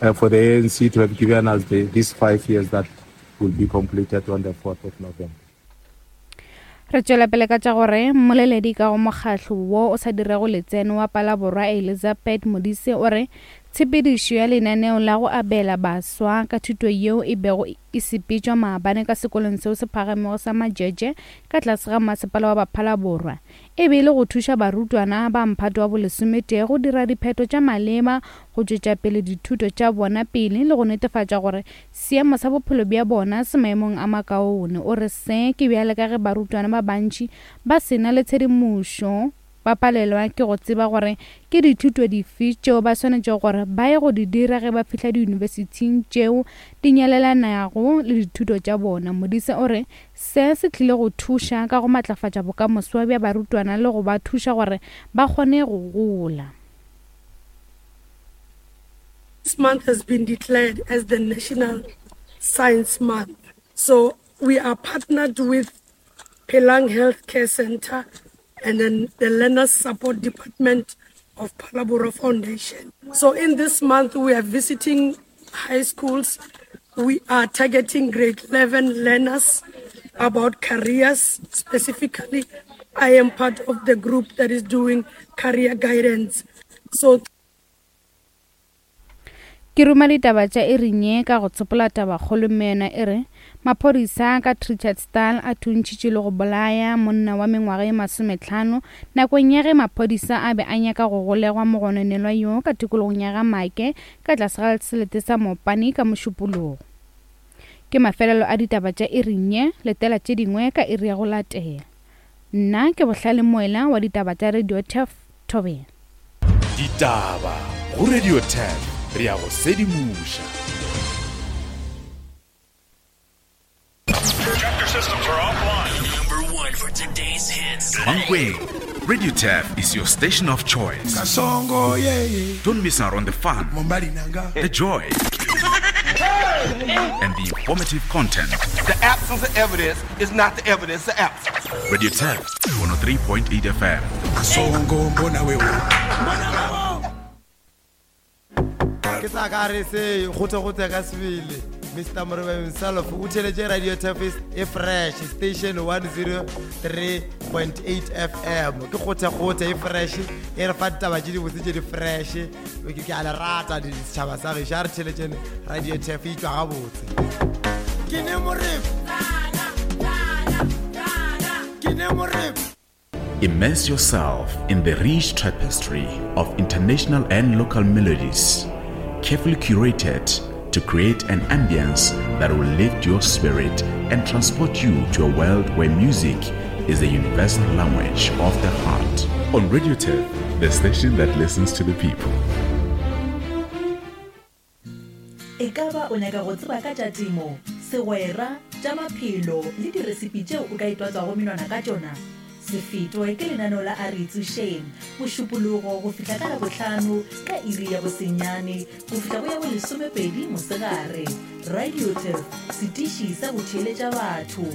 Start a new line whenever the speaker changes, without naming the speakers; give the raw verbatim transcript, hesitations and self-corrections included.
uh, for the A N C to have given us the, these five years that will be completed on the fourth of November.
Re tšwela pele ka tša gore mmoleledi ka go mokgahlo wo o sa dirego letseno wa Palaborwa, Elizabeth Modise, o re tshepedišo ya lenaneo la go abela baswa ka thuto yeo e bego e sepetšwa maabane ka sekolong seo se phagamego sa Majeje ka tlase ga masepala wa Baphalaborwa e be e le go thuša barutwana ba mphato wa bolesometee go dira diphetho tša maleba go tšwetša pele dithuto tša bona pele le go netefatša gore seemo sa bophelo bja bona se maemong a makaone. O re se ke bjale ka ge barutwana ba bantši ba sena le tshedimošo, ba palelwa ke go tseba gore ke dithuto dife tšeo ba swanetšego gore ba ye go di dira ge ba fihla diyunibesithing tšeo di nyalelanago le dithuto tša bona. Modise o re se se tlile go thuša ka go matlafatša bokamoso bja barutwana le go ba thuša gore ba kgone go gola.
This month has been declared as the National Science Month. So we are partnered with Pelang Healthcare Center and then the Learners Support Department of Phalaborwa Foundation. So in this month, we are visiting high schools. We are targeting grade eleven learners about careers. Specifically, I am part of the group that is doing career guidance. So
Ke ruma ditaba tša iring ye ka go tsopola tabakgolo, mme yona e re maphodisa ka Trichardstal a thuntšhitše le go bolaya monna wa mengwaga ye masometlhano nakong ya ge maphodisa a be a nyaka go golegwa mogononelwa yo ka tikologong ya ga Make ka tlase ga selete sa Mopani ka Mošupologo. Ke mafelelo a ditaba tša iring ye. Letela tše dingwe ka iri ya go latela. Nna ke Bohlale Moela wa ditaba tša Radio Turf Thobela.
Ditaba go Radio Turf, re ya go sedimoša.
Chapter systems are offline.
Number one for today's hits.
Mankweng, Radio Turf is your station of choice.
Kasongo yeah, yeah.
Don't miss out on the fun,
Mombali nanga.
The joy, and the informative content.
The absence of evidence is not the evidence of absence.
Radio Turf, one oh three point eight F M.
Kasongo mbona wewe.
Ke sa ka re se gote-gote ka sebele. Mister Morebe himself o theletše Radio Turf e fresh, station one oh three point eight F M. Ke gote-gote e fresh, e re fa ditaba tše dibotse tše di fresh. Ke ke a le rata setšhaba sa gešo. A re theletšene Radio Turf, e tšwa gabotse. Ke ne Morebe, ke ne Morebe.
Immerse yourself in the rich tapestry of international and local melodies, carefully curated to create an ambience that will lift your spirit and transport you to a world where music is the universal language of the heart. On Radio Turf, the station that listens to the people.
E ka ba o nyaka go tseba ka tša temo, segwera, tša maphelo le diresipi tšeo o ka itwatswago menwana ka tšona? Se fetwe ke lenaneo la A Re Itsošeng, Mošupologo go fihla ka Labohlano ka iri ya bosenyane go fihla go ya bolesomepedi mosegare. Radio Turf, setiši sa go theeletša batho.